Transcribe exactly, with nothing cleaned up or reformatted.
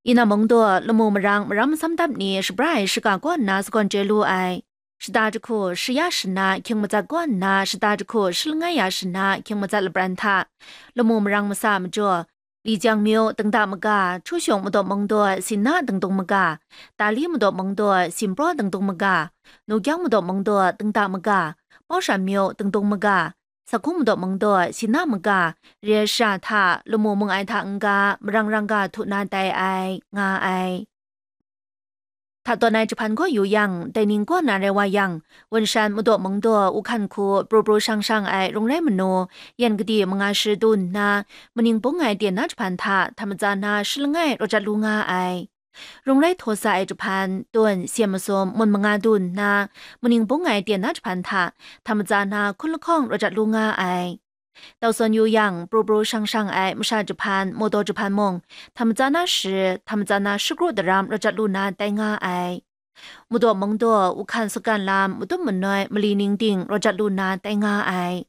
Ina mungdaw, lamu marang maram masam dap ni shabra ai shiga kaw nna sagawn chye lu ai. Shada jahku shaya shana hkying matsat kaw nna, shada jahku shalangai ya shana hkying matsat lapran hta, lamu marang masa majaw, Lijiang myu dingda maga, Chushung madaw mungdaw, Sina dingdung maga, Dali madaw mungdaw, Simpraw dingdung maga, Nukyang madaw mungdaw, dingda maga, Paushan myu dingdung maga, Sakhung madaw mungdaw, Sina maga, re ai shara hta, lamu mung ai hta n-ga, marang rang ga htu na tai ai, nga ai. Hta tawn ai jahpan gaw yu yang, dai ning kaw na rai wa yang, Wun Shan madaw mungdaw, Uhkan hku, pru pru shang shang ai rung rai manu, yan gadi manga shi du nna, maning bung ai ten na jahpan hta, hta matsa na shalangai rawt jat lu nga ai. Rung rai htaw sa ai jahpan, tun, syen masum, mun manga du nna, maning bung ai ten na jahpan hta, hta matsa na hkun lahkawng rawt jat lu nga ai. Tau sawn yu yang, pru pru shang shang ai masha jahpan, mawdaw jahpan mung, hta matsa na shi, hta matsa na shakru daram rawt jat lu na tai nga ai. Madaw mungdaw, Uhkan sakan lam, matum manoi, mali ning ting rawt jat lu na tai nga ai.